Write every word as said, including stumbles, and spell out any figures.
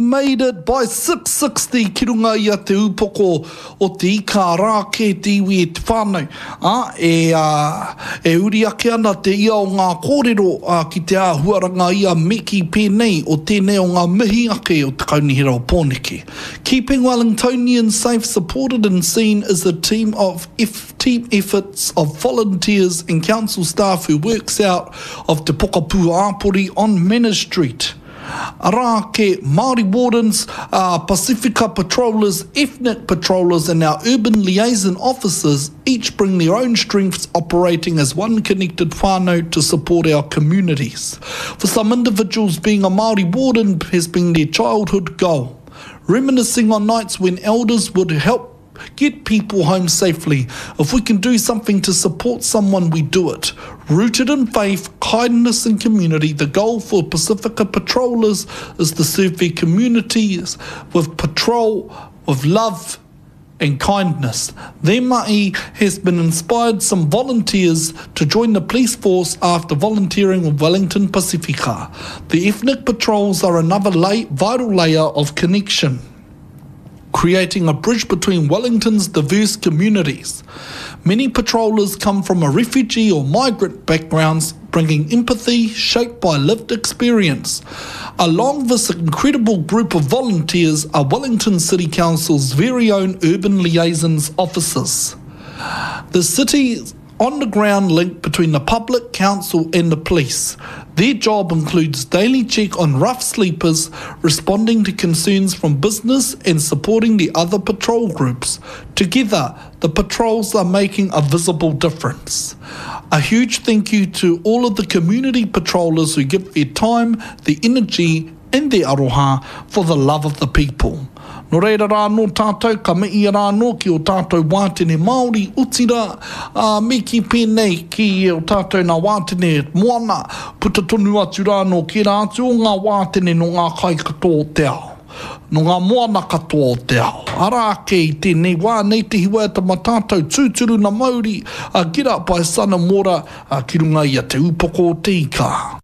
made it by six sixty ki runga i a Te Upoko o te Ika rā kē te iwi e te whānau, ā, e, ā, e uri ake ana te ia o ngā kōrero, ā, ki te āhuaranga ia me kī pēnei o tēnei o ngā mihi ake o Te Kaunihera o Pōneke. Keeping Wellingtonians safe, supported and seen is a team of team efforts of volunteers and council staff who works out of Te Pokapū Āpori on Manners Street. Arā ake Māori wardens, uh, Pasifika patrollers, ethnic patrollers and our urban liaison officers each bring their own strengths operating as one connected whānau to support our communities. For some individuals, being a Māori warden has been their childhood goal. Reminiscing on nights when elders would help get people home safely. If we can do something to support someone, we do it. Rooted in faith, kindness and community, the goal for Pacifica patrollers is to serve their communities with patrol, with love and kindness. Their mahi has been inspired some volunteers to join the police force after volunteering with Wellington Pacifica. The ethnic patrols are another lay, vital layer of connection, creating a bridge between Wellington's diverse communities. Many patrollers come from a refugee or migrant backgrounds, bringing empathy shaped by lived experience. Along this incredible group of volunteers are Wellington City Council's very own urban liaisons officers. The city's on-the-ground link between the public, council and the police. Their job includes daily check on rough sleepers, responding to concerns from business and supporting the other patrol groups. Together, the patrols are making a visible difference. A huge thank you to all of the community patrollers who give their time, the energy and their aroha for the love of the people. Nō reira rā anō tātou, ka mihi rā anō ki o tātou wātene Māori, otirā, ā, me kī pēnei ki o tātou nā wātene moana, puta tonu atu rā anō ki rā atu o ngā wātene nō ngā kai katoa o te ao, nō ngā moana katoa o te ao. Arā ake i tēnei wā, nei te hiwaiata mā tātou tūturu na mauri, a Get Up by Son and Water, a, ki runga i a Te Upoko o te Ika.